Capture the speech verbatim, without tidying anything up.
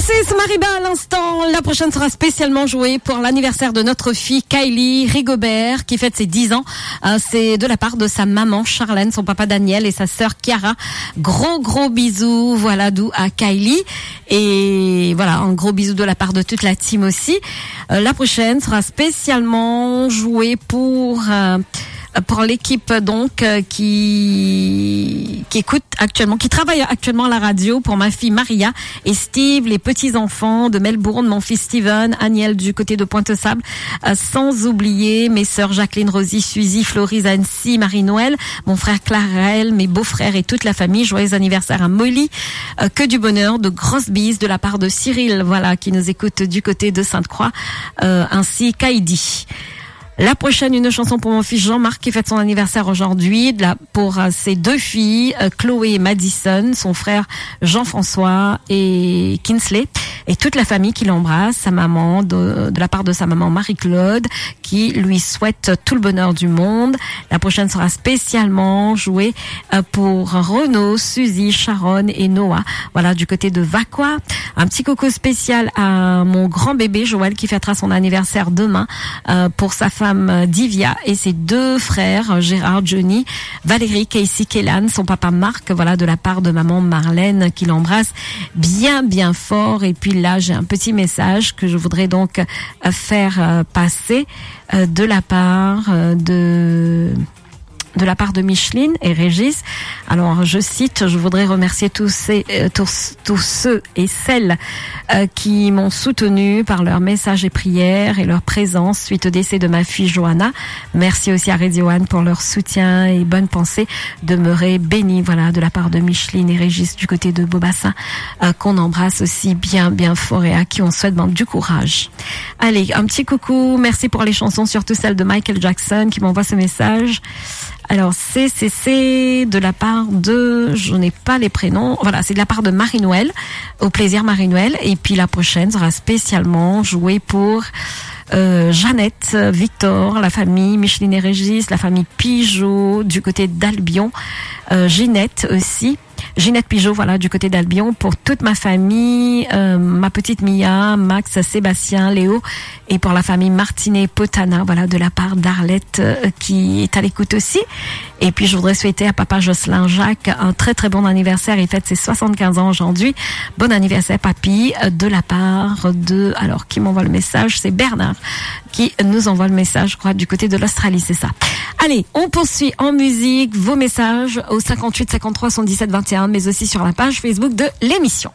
C'est Mariba à l'instant. La prochaine sera spécialement jouée pour l'anniversaire de notre fille Kylie Rigobert, qui fête ses dix ans. Euh, c'est de la part de sa maman Charlène, son papa Daniel et sa sœur Kiara. Gros, gros bisous, voilà, doux à Kylie. Et voilà, un gros bisou de la part de toute la team aussi. Euh, la prochaine sera spécialement jouée pour, euh, pour l'équipe, donc, euh, qui, qui écoute actuellement, qui travaille actuellement à la radio, pour ma fille Maria et Steve, les petits-enfants de Melbourne, mon fils Steven, Aniel du côté de Pointe-aux-Sables, euh, sans oublier mes sœurs Jacqueline, Rosie, Suzy, Florise, Annecy, Marie-Noël, mon frère Clarel, mes beaux-frères et toute la famille. Joyeux anniversaire à Molly. Euh, que du bonheur, de grosses bises de la part de Cyril, voilà, qui nous écoute du côté de Sainte-Croix, euh, ainsi qu'Heidi. La prochaine, une chanson pour mon fils Jean-Marc qui fête son anniversaire aujourd'hui, de la, pour, euh, ses deux filles, euh, Chloé et Madison, son frère Jean-François et Kinsley, et toute la famille qui l'embrasse, sa maman, de, de la part de sa maman Marie-Claude, qui lui souhaite tout le bonheur du monde. La prochaine sera spécialement jouée, euh, pour Renaud, Suzy, Sharon et Noah. Voilà, du côté de Vacoas. Un petit coucou spécial à mon grand bébé Joël qui fêtera son anniversaire demain, euh, pour sa femme, euh, Divia et ses deux frères, euh, Gérard, Johnny, Valérie, Casey, Kélan, son papa Marc, voilà, de la part de maman Marlène qui l'embrasse bien, bien fort. Et puis là, j'ai un petit message que je voudrais donc, euh, faire, euh, passer, euh, de la part, euh, de, de la part de Micheline et Régis. Alors, je cite, je voudrais remercier tous ces, euh, tous, tous ceux et celles, euh, qui m'ont soutenu par leurs messages et prières et leur présence suite au décès de ma fille Johanna. Merci aussi à Radio One pour leur soutien et bonne pensée. Demeurez bénis, voilà, de la part de Micheline et Régis du côté de Beaubassin, euh, qu'on embrasse aussi bien, bien fort et à qui on souhaite, ben, du courage. Allez, un petit coucou, merci pour les chansons, surtout celle de Michael Jackson qui m'envoie ce message. Alors, c'est, c'est, c'est de la part de, je n'ai pas les prénoms, voilà, c'est de la part de Marie-Noël, au plaisir Marie-Noël, et puis la prochaine sera spécialement jouée pour, euh, Jeannette, Victor, la famille Micheline et Régis, la famille Pigeot du côté d'Albion, euh, Ginette aussi, Ginette Pigeot, voilà, du côté d'Albion, pour toute ma famille, euh, ma petite Mia, Max, Sébastien, Léo, et pour la famille Martinet Potana, voilà, de la part d'Arlette, euh, qui est à l'écoute aussi. Et puis, je voudrais souhaiter à papa Jocelyn Jacques un très, très bon anniversaire. Il fête ses soixante-quinze ans aujourd'hui. Bon anniversaire, papy, euh, de la part de, alors, qui m'envoie le message ? C'est Bernard qui nous envoie le message, je crois, du côté de l'Australie, c'est ça. Allez, on poursuit en musique, vos messages au cinquante-huit cinquante-trois soixante-dix-sept vingt et un, mais aussi sur la page Facebook de l'émission.